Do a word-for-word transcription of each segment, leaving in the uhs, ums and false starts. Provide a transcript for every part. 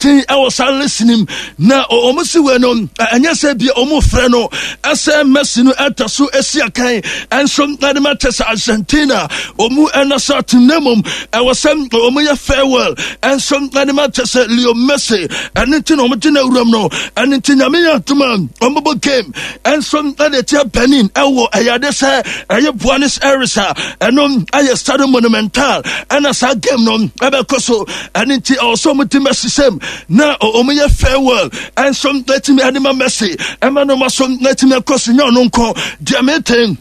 Tin ɛwɔ saa listening na ɔmo si wei no, ɛnyɛ sɛ bia ɔmo frɛ no ɛsɛ Messi no ɛta so esi akan ɛnso ɛde ma kyɛ sɛ Argentina ɔmo ɛna sa team, na mmom ɛwɔ sɛ ɔmo yɛ farewell ɛnso ɛde ma kyɛ sɛ Leo Messi. Ɛne nti na ɔmo gyina wuram no. Ɛne nti Nyame yɛ adom a, ɔmo bɔ game ɛnso ɛde tia Benin ɛwɔ ɛyɛ ade sɛ ɛyɛ Buenos Aires a ɛno ɛyɛ Stadium Monumental, ɛna saa game no ɛbɛkɔ so. Ɛne nti ɛwɔ sɛ ɔmo ti Messi sɛm na ɔmo yɛ farewell ɛnso ɛtumi ɛde ma Messi ɛma no ma so ɛtumi ɛkɔ so. Nyɛ ɔno nko deɛ, meten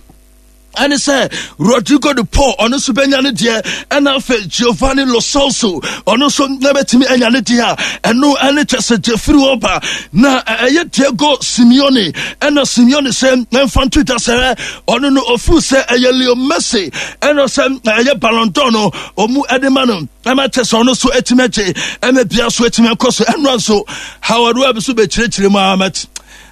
ɛne sɛ Rodrigo de Paul, ɔno nso bɛnya ne deɛ, ɛna afei Giovanni Lo Celso, ɔno nso na bɛtumi anya ne deɛ a ɛno ɛne kyɛ sɛ gyefiri hɔ ba na ɛyɛ Diego Simeone. Ɛna Simeone sɛ ɛmfa nto dwa sɛ ɔno no ɔfiri sɛ ɛyɛ Leo Messi ɛna sɛ ɛyɛ Ballon d'Or no ɔmu ɛde ma no, ɛma kyɛ sɛ ɔno nso atumi agye, ɛma bia so atumi akɔ so. Ɛnoa nso Howard Webb so bɛkyerɛkyerɛ mu amat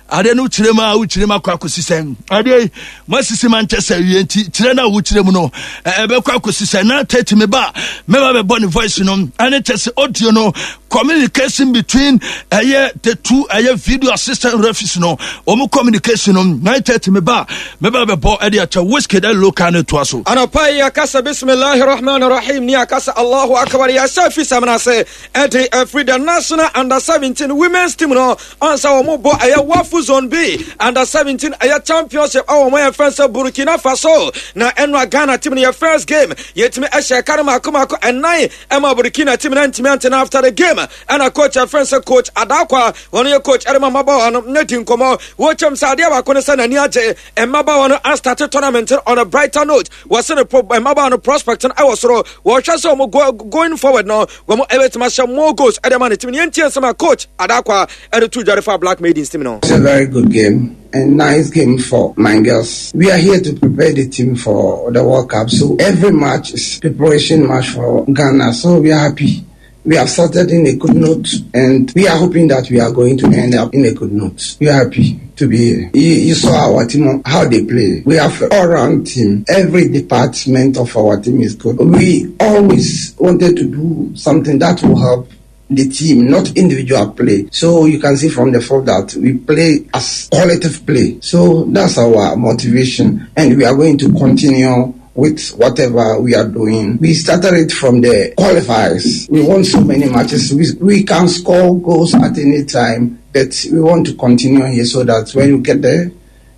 adeɛ no kyerɛ mu a wokyerɛ mu akɔ akɔsi sɛn? Adeɛ yi moasisi ma nkyɛ sɛ wie nti kyerɛ no a wokyerɛ mu no ɛbɛkɔ akɔsi sɛn? Na tati me ba mɛba bɛbɔ ne voice no ɛne kyɛ sɛ audio no, communication between ɛyɛ the two ɛyɛ video assistant referees no, wɔn communication no. Nine thirty me ba mɛba bɛbɔ ɛde akyɛ Wizkid ɛde local no toa so. Anɔpa yi yɛkasa bismillahi rahman rahim ne yɛakasa Allahu akbar. Yɛhyɛ fi sɛm no ase ɛde afiri the national under seventeen women's team no ansa wɔn bɔ ɛyɛ WAFU Zone B under seventeen ɛyɛ championship ɛwɔ wɔn yɛ fɛn sɛ Burkina Faso. Na ɛno a Ghana team no yɛ first game yɛtumi ɛhyɛ ɛka no mako mako ɛnan ɛma Burkina team no ntumi antena. After the game, ɛna coach ɛfɛn sɛ Coach Adakwa, wɔn yɛ coach ɛde ma mmabaawa no, ne di nkɔmɔ. Wɔkyɛm sɛ adeɛ baako no sɛ n'ani agye mmabaawa no astart tournament on a brighter note. Wɔsɛ ne pro mmabaawa no prospect no ɛwɔ soro. Wɔhwɛ sɛ wɔn go, going forward no, wɔn ɛbɛtumi ahyɛ more goals ɛde ma ne team no. Yɛntie nsɛm a Coach Adakwa ɛde to dware fa Black Maidens team no. It's a very good game and nice game for my girls. We are here to prepare the team for the World Cup. So every match is preparation match for Ghana. So we are happy. We have started in a good note and we are hoping that we are going to end up in a good note. We are happy to be here. You, you saw our team, how they play. We have an all-round team. Every department of our team is good. We always wanted to do something that will help the team, not individual play. So you can see from the fact that we play as collective play. So that's our motivation, and we are going to continue with whatever we are doing. We started it from the qualifiers. We won so many matches. We, we can score goals at any time, but we want to continue here so that when we get there,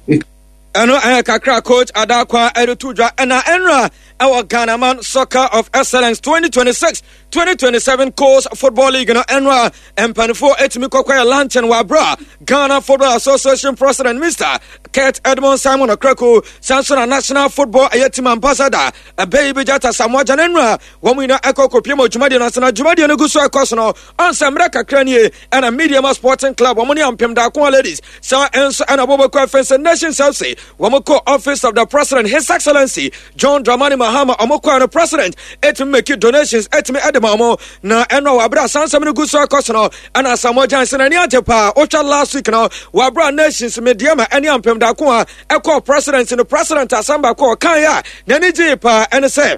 we Ɛno ɛyɛ kakra Coach Adakwa ɛde to dwa. Ɛna ɛnra ɛwɔ Ghana Man Soccer of Excellence twenty twenty-six twenty twenty-seven Colts Football League no, ɛnra mpanimfoɔ ɛtumi kɔkɔ yɛ luncheon wɔ abira Ghana Football Association President Mister Kurt Edmond Simon Okraku, sanso na National Football ɛyɛ team ambassador ɛbɛyi bi Gyata Samoa Gya. Ɛnra wɔn nyinaa ɛkɔ kɔpie mu dwumadie no ase, na dwumadie no gu so ɛkɔ so no, ansa mmerɛ kakra nie ɛna Medeama Sporting Club wɔn ne Ampem Daako Ladies saa nso ɛna wɔbɛkɔ afɛn sɛ Nations F C wɔn kɔ Office of the President, His Excellency John Dramani Mahama. Wɔn kɔ no, President ɛtumi make donations ɛtumi ɛde ma wɔn. Na ɛno a wɔabere asansɛm no gu so ɛkɔ so no, ɛna Asamoah Gyan sɛ n'ani agye paa. Wotwa last week no, wɔabere Nations, Medeama ɛne Ampem Daako a ɛkɔ President no, President asɛm baako a ɔkan a n'ani gyee paa ɛne sɛ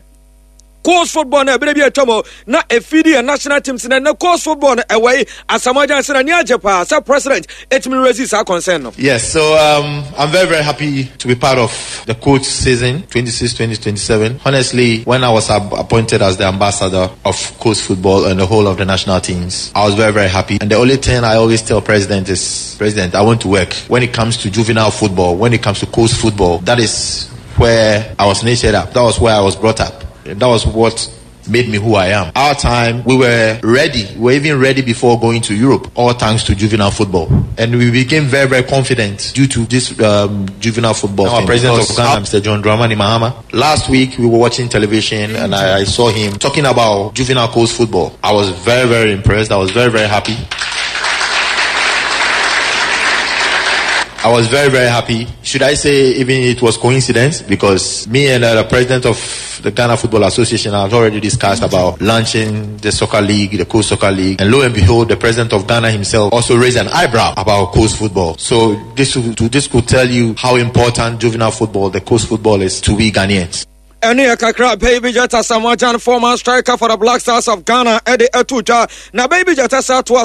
colts football no ɛberɛ bi atwa mu na ɛfidi yɛ national teams na ɛnɛ colts football no ɛwɔ yi. Asamoah Gyan sɛ n'ani agye paa sɛ President ɛtumi raise saa concern no. Yes, so um, I'm very, very happy to be part of the colts season twenty-six twenty twenty-seven. Honestly, when I was appointed as the ambassador of colts football and the whole of the national teams, I was very, very happy. And the only thing I always tell President is, "President, I want to work." When it comes to juvenile football, when it comes to colts football, that is where I was nurtured up. That was where I was brought up. That was what made me who I am. Our time, we were ready. We were even ready before going to Europe, all thanks to juvenile football. And we became very, very confident due to this um, juvenile football. Our President of Ghana, Mister John Dramani Mahama, last week we were watching television and I, I saw him talking about juvenile colts football. I was very, very impressed. I was very, very happy. I was very, very happy. Should I say even it was coincidence? Because me and uh, the president of the Ghana Football Association have already discussed about launching the soccer league, the colts soccer league. And lo and behold, the president of Ghana himself also raised an eyebrow about colts football. So this, this could tell you how important juvenile football, the colts football, is to we Ghanaians. Ɛne yɛ kakra Baby Jata Samoa Gyan, former striker for the Black Stars of Ghana, ɛde ɛto dwa. Na Baby Jata sa toa